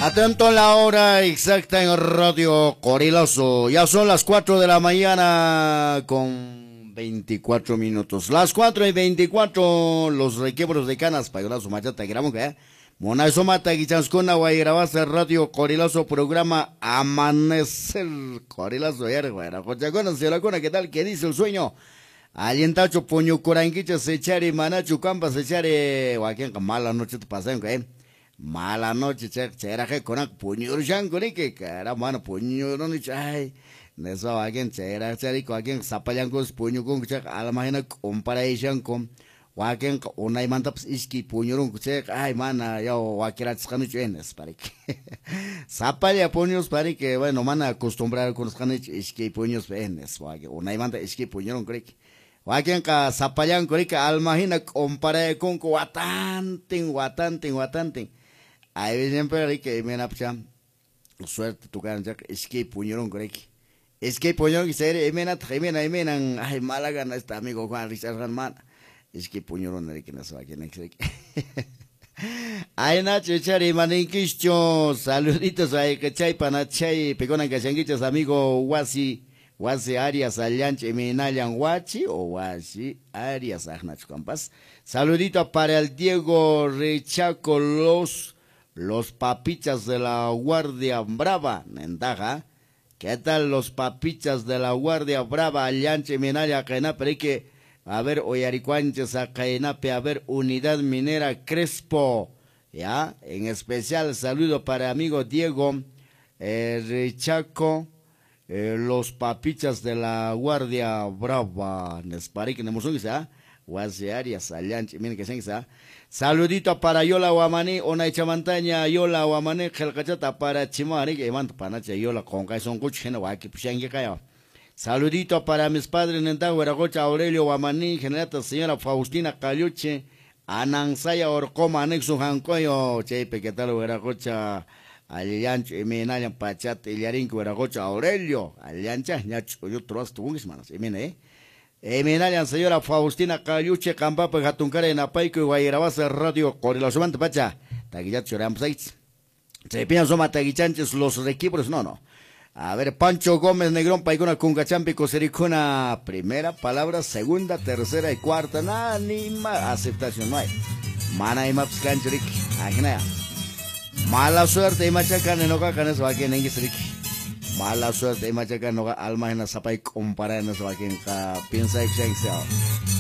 Atento a la hora exacta en Radio Qorilazo. Ya son las 4 de la mañana con 24 minutos. Las 4:24, los requiebros de canas, payolazo machata, grabamos, ¿eh? Monazo mata guichanskuna, guayrabasa Radio Qorilazo, programa Amanecer Qorilazo, yerguera. Señora, ¿qué tal? ¿Qué dice el sueño? Allintachu puñukurankichis ichari manachu kampas ichari wakinqa mala noche te pasanku, ¿eh? Mala noche chayraqqa kunanqa puñurushanku riki, caramba, mana puñurunichu, ay, nispa wakin chayraq chariku wakinqa sapallankupas puñukunku chayqa alma hina k'umparayashanku, wakinqa unaymantapas iskay puñurunku chayqa, ay, mana yaw wakirachisqanichu, nispa riki. Sapalla puñuspa riki, bueno, mana acostumbrarkunasqanichu iskay puñuspa, nispa wakin unaymanta iskay puñurunku riki. Wakinqa sapallanku riki alma hina k'umparaykunku watantin, watantin, watantin. Ay, siempre riki imaynapcha suerte tukaran chayqa iskay puñurunku riki. Iskay puñurunku chayri imaynataq imayna imaynan, ay, mala gana este amigo Juan richarqan mana. Iskay puñuruna riki nispa wakin riki. Ay, Nacho, ichari imaninkichu, saluditos ayqechaypa nachay pikunan kashankichis amigo wasi. Wasi Arias Allanch Eminallan Huachi o Wasi Arias Ajnacho Campas. Saludito para el Diego Rechaco, los papichas de la Guardia Brava, Nendaja. ¿Qué tal los papichas de la Guardia Brava, Allanch Eminalla Kainape? Que, a ver, Oyaricuanches a Kainape, a ver, Unidad Minera Crespo. Ya, en especial saludo para amigo Diego Rechaco. Los papichas de la Guardia Brava, Nesparik, Nemusunguisa, Wasi Arias, Allanch, miren que se. Saludito para Yola Guamaní, Onaichamantaña, Yola Guamaní, Jelcachata para Chimari, que manda panacha Yola, con Kaison Kuch, Waki, Pushangi Kaya. Saludito para mis padres, Nenta, Hueragocha, Aurelio Guamaní, Generata, señora Faustina Cayuche, Anansaya Orcoma, Anexo Jancoyo, Chepe, ¿qué tal, Hueragocha? Allancho, Emenayan, Pachat, Ilarinco, Hueragocha, Aurelio, Allancha, Ñacho, yo troas tungis, manos, Emena, Emenayan, señora Faustina Cayuche, Campapa, Jatuncara, Enapaico, y Guayarabasa, Radio Qorilazo, Pacha, Taguichacho, Ramsaitz, Chepian, Soma, Taguichanches, los requibros, no, no. A ver, Pancho Gómez, Negrón, Paicuna, Cuncachampi, Cosericuna, primera palabra, segunda, tercera y cuarta, nada, ni más, aceptación no hay. Mana y maps, canchuric, ajena. Mala suerte y machaca no caca no se va quien en Mala suerte y machaca no alma en la zapa y compara no se va quien piensa que sea.